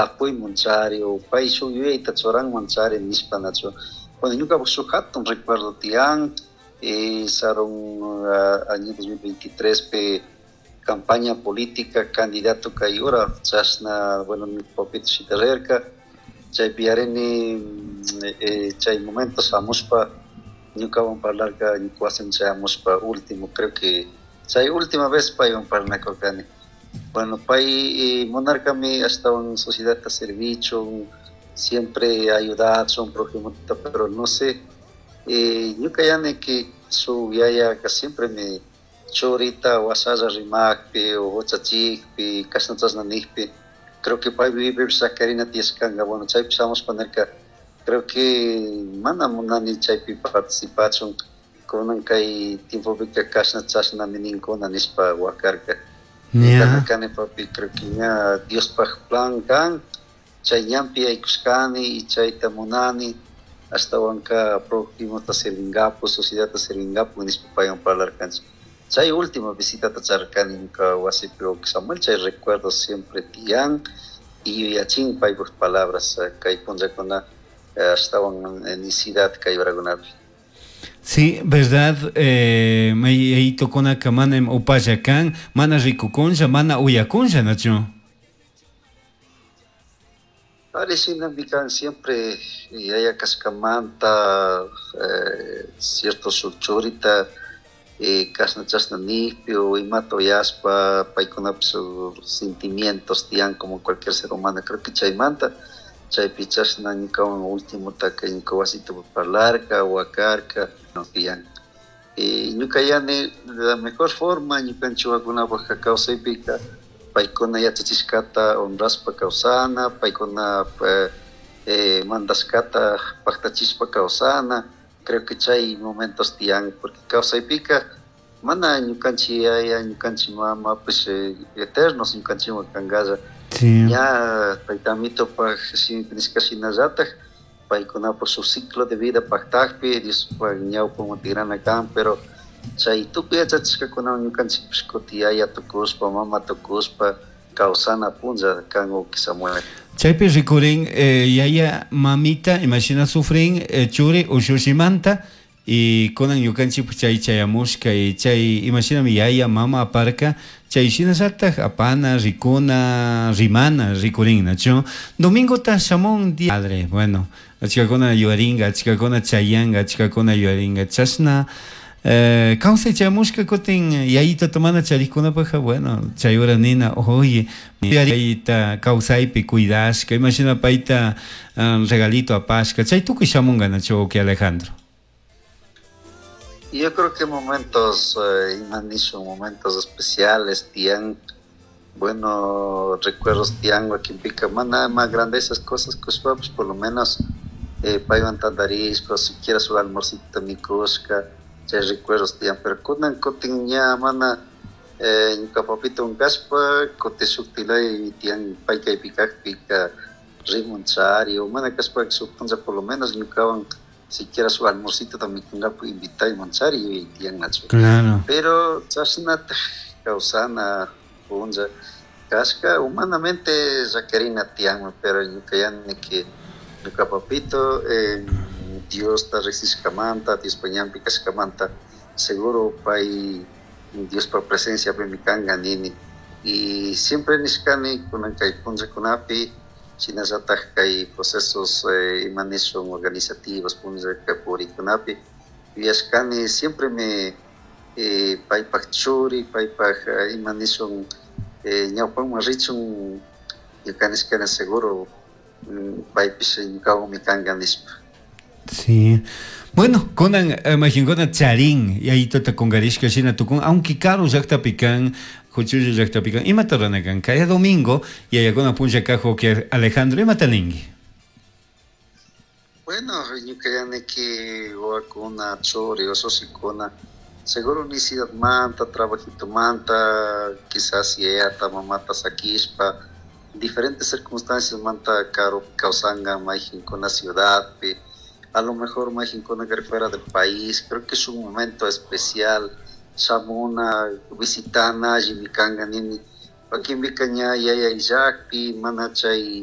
Tapuyman chari o pay shuk yuyayta churanman chari nishpa, nachu? Bueno, ñukapak shuk hatun recuerdo tiyan, sarun año 2023 pe campaña política candidato kay hora chashna, bueno, mi papito shitarirka chaypi yarini, chay momento shamushpa ñukawan parlarka, ñuka wasiman chayamushpa. Último, creo que chay última vez paywan parlanakurkani. Bueno, pay munarkami ashtawan sociedadta servichun, siempre ayudachun prójimota, pero no sé, ñuka yani que su yayaka siempre me churita wasalla rimakpi o huchachikpi, kashna chashna nijpi, creo que pay vivipipish sacarina tiyashkanga. Bueno, chaypi shamushpa nirka: "Creo que mana munani chaypi participachun, kunan kay tiempopika kashna chashnami ninkuna", nishpa wakarka. Kani: "Papi, creo que ña Diospaj plan kan, chay ñanpi yaykushkani y chayta munani, ashtawanka prójimota servingapu, sociedadta servingapu", nishpa paywan parlarkanchik. Chay última visitata charkani ñuka wasipi, Samuel. Chay recuerdo siempre tiyan y yuyachin paypaj palabras kay punllakuna, ashtawan necesidad kay horakunapi. Sí, verdad, mayayitokunaka mana upalla kan, mana rikukunlla, mana uyakunlla, nachu? Ari, shinami kan siempre yaya kashkamanta, cierto shuk churita kashna chashna nijpi o imata uyashpa, paykunapish sentimientos tiyan como cualquier ser humano. Creo que chaymanta chaypi chashna ñukawan ultimotaka ñuka wasita parlarka, wakarka, no tiyan. Y ñuka yani la mejor forma ñukanchik wawakunapakka kawsaypika paykuna yachachishkata honrashpa kawsana, paykuna mandashkata paktachishpa kawsana. Creo que chay momentos tiyan, porque kawsaypika mana ñukanchik yaya, ñukanchik mama pues eternos ñukanchikwan kankalla. Ña tayta Amitopaj shimipi nishka shinallatak paykunapak shuk ciclo de vida paktakpi Diospaj ñawpaman tigrana kan, pero chay tukuy yachachishkakunawan ñukanchikpish kutin yaya tukushpa, mama tukushpa kawsana punlla kan, Samuel. Chaypi rikurin yaya mamita imashina sufrin churi ushushimanta y kunan ñukanchik chay chayamushka y chay imashinami yaya mama aparka, chay shinallatak apana, rikuna, rimana rikurin, nachu? Domingota shamun día padre. Bueno, achkakuna yuyaringa, achkakuna chayanga, achkakuna yuyaringa chashna kawsay chayamushka. Kutin yayitata mana charikkunapakka, bueno, chay hora nina: "Oye, yayita kawsaypi cuidashka, imashina payta regalito apashka", chay tukuy shamunga, nachu, que Alejandro? Yo creo que momentos, ima nishun, momentos especiales tiyan, bueno, recuerdos tiyan. Wakinpika mana más grande esas cosas kushpapish, por lo menos paywan tantarishpa, siquiera su almuercito mikushka, chay recuerdos tiyan. Pero kunan kutin ña mana ñuka papito kashpa, kutin shuktilay tiyan, pay kaypi kakpika rimun chari o mana kashpa shuk punlla por lo menos ñukawan siquiera su almuercito mikungapak invitayman chari yuyay tiyan, nachu? Claro. Pero chashnataj kawsana punlla kashka, humanamente llaquirina tiyanmi, pero ñuka yani que ñuka papito Diosta riksishkamanta, Diospa ñanpi kashkamanta, seguro pay Diospa presenciapimi kanka nini. Y siempre nishkani kunan kay punllakunapi, shinallatak kay procesos ima nishun organizativos punlla purikunapi yuyashkani siempre me paypak churi, paypak ima nishun ñawpaman richun ñuka nishkani, seguro paypish ñukawanmi kanka nishpa. Sí. Bueno, kunan majinkuna charin yayitota kungarishka shina tukun, aunque karu llaktapi kan, huchulla llaktapi kan, imata rurana kan? Kaya domingo yayakuna punlla kajo que Alejandro, imata ninki? Bueno, ñuka yaniki wawakuna, churi, usushikuna, seguro manta, trabajitomanta, quizás yayata, mamata sakishpa, diferentes circunstancias manta karupi kawsanka, mayjinkuna ciudadpi, a lo mejor mayjinkuna fuera del país. Creo que es un momento especial, shamuna, visitana, allimi kanka nini. Wakinpika ña yaya illakpi, mana chay